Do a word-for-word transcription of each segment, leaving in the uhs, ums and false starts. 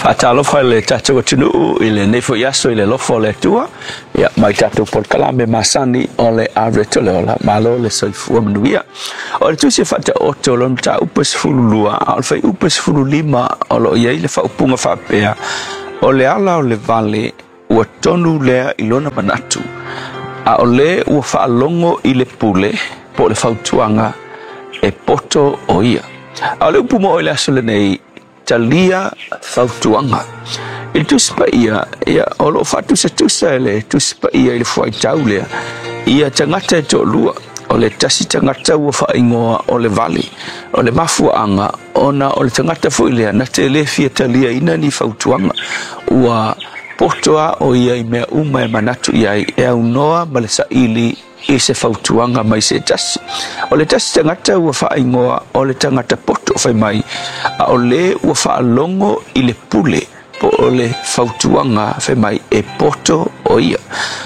Faatalofa i le tatou atunuu i lenei foi aso i le alofa o le Atua. Ia, mai tatou polokalame masani o le Areto le Ola, malo le soifua manuia. O le tusi e faataoto o lona mataupu e sefulu lua, a o le fuaiupu e sefulu lima o lo o i ai le faaupuga faapea, o le ala o le vale ua tonu lea i lona manatu, a o le ua faalogo i le pule po o le fautuaga e poto o ia. A o le upu mo i le aso lenei, talia fautuaga. I le Tusi Paia, ia, o lo o faatusatusa e le Tusi Paia i le fuaitau lea, ia tagata e toalua, o le tasi tagata ua faaigoa o le vale, o le mafuaaga ona o le tagata foi lea na te le fia taliaina ni fautuaga, ua poto a o ia i mea uma e manatu i ai, e aunoa ma le saili i se fautuaga mai se tasi. O le tasi tagata ua faaigoa o le tagata poto fai mai, a o le ua faalogo i le pule po o le fautuaga fai mai e poto o ia.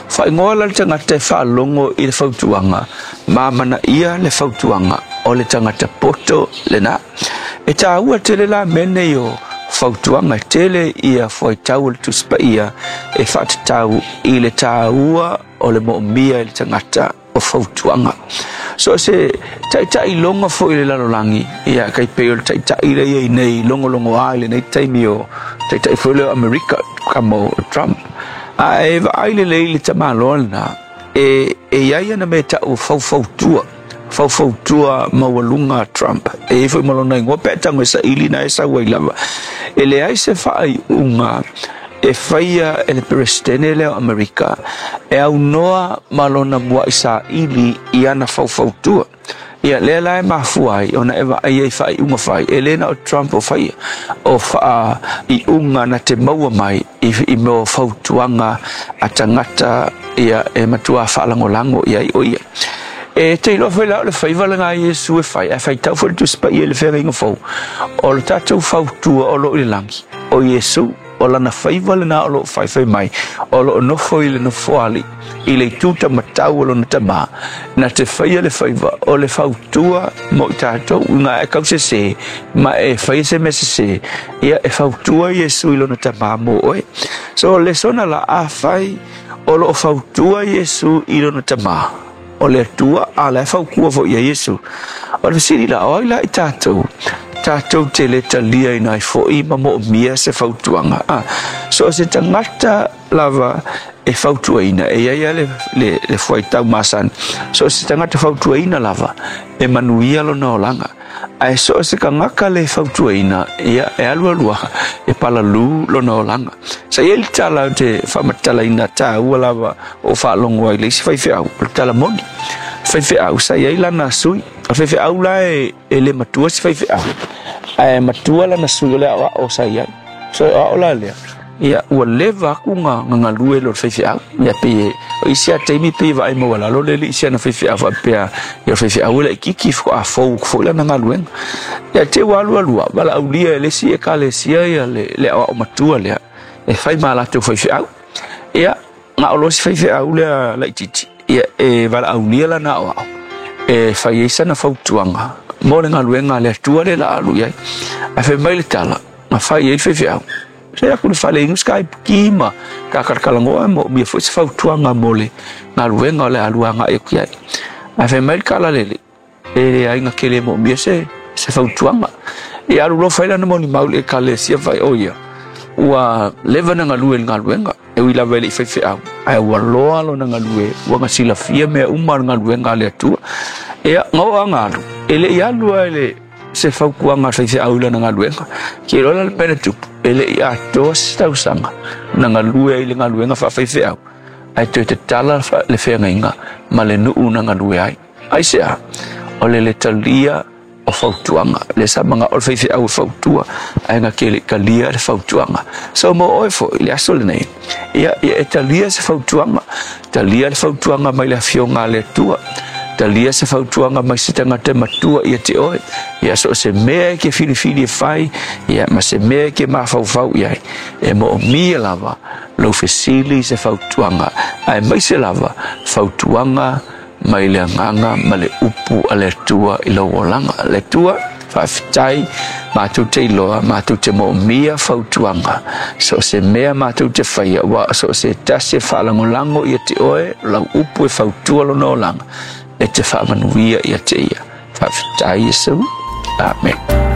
Faaigoa la le tagata e faalogo i le fautuaga, ma manaia le fautuaga o le tagata poto lena. E tāua tele la mea nei o fautuaga, e tele ia fuaitau o le Tusi Paia e faatatau i le tāua o le moomia i le tagata o fautuaga. So se taitai logo foi i le lalolagi, ia kai pei o le taitai lea i ai nei logologoa i lenei taimi o taitai foi lea o Amerika kamo o Trump. A e vaai lelei le tamaloa lena, e, e i ai ana mea tau faufautua, faufautua maualuga a Trump. E i ai foi ma lona igoa pe a tago e saili na e sau ai lava. E leai se faaiuga e faia e le Peresetene lea o Amerika e aunoa ma lona muai saili i ana faufautua. Ia, lea la e mafua ai ona e vaai ai faaiuga fai, e le na o Trump o faia, o faaiuga na te maua mai i, i mea o fautuaga a tagata ia e matua faalagolago i ai o ia. E te iloa foi la o le faiva lena a Iesu e fai, ae faitau foi le Tusi Paia i le Feagaiga Fou, o le tatou fautua o lo o i le lagi, o Iesu, o lana faiva lena o lo o faifai mai, o lo o nofo i le nofoalii, i le itu taumatau o lona tamā, na te faia le faiva o le fautua mo i tatou, ina e kausese, ma e faia se mea sesē, ia e fautua Iesu i lona tamā mo oe. So, o le lesona la, afai o lo o fautua Iesu i lona tamā, o le Atua, a la e fautua foi ia Iesu. O le fesili la, o ai la i tatou, tatou te le taliaina ai foi ma moomia se fautuaga? A, so o se tagata lava e fautuaina, e i ai lava le, le, le fuaitau masani, so o se tagata fautuaina lava, e manuia lona olaga. Ae so o se tagata le fautuaina, ia, e alualu lava, e palalū lona olaga. Sa i ai le tala ou te faamatalaina taua lava o faalogo ai i le isi faifeau, o le tala moni. Faifeau, sa i ai lana sui. O le faifeau la e, e le matua se faifeau, ae matua lana sui o le aoao sa i ai. So e aoao la lea, ia, ua leva aku ga ga galue i lo le faifeau. Ia, pei e, o isi lava taimi pei e vaai maualalo le alii i si ana faifeau faapea, ia o le faifeau e laitiiti faatoa fou atu foi lana galuega. Ia, te i ua alualu lava, valaaulia e le isi ekalesia ia le, le aoao matua lea e fai ma latou faifeau. Ia, na o loa si faifeau lea laitiiti, ia, e valaaulia lana aoao e fai ai sana fautuaga mo le galuega a le Atua lea o le a alu i ai. Ae fai mai le tala, na fai i ai le faifeau, se aku le fale inu se kaipuki ma kakalakalanoa e moomia foi se fautuaga mo le galuega o le a alu agai atu i ai. Ae fai mai le tala a le alii, e leai na te le moomia se, se fautuaga. Ia alu loa fai lana molimau i le ekalesia fai, o ia, ua leva na galue i le galuega, e ui lava e le i faifeau, ae ua loa lona galue, ua na silafia mea uma o le galuega a le Atua. Ia, na oo lava na alu, e le i alu lava i le se fautuaga a le faifeau i lana galuega. Ke iloa la le mea na tupu, e le i atoa se tausaga na galue ai i le galuega faafaifeau, ae toe tatala le feagaiga ma le nuu na galue ai. Aisea? O le le talia o fautuaga. Lea sa manao le faifeau e fautua, ae na te le i talia le fautuaga. So mo oe foi i le aso lenei, ia, ia e talia se fautuaga. Talia le fautuaga mai le Afioga a le Atua. Talia se fautuaga mai se tagata e matua ia te oe. Ia so o se mea e ke filifili e fai, ia ma se mea e ke mafaufau i ai, e moomia lava lou fesili i se fautuaga, aemaise lava fautuaga mai le agaga ma le upu a le Atua i lou olaga. Le Atua Faafetai matou te iloa, matou te moomia fautuaga, so o se mea matou te faia, ua so o se tasi e faalagolago ia te oe, lau upu e fautua lona olaga, e te faamanuia ia te ia. Faafetai Iesu. Amen.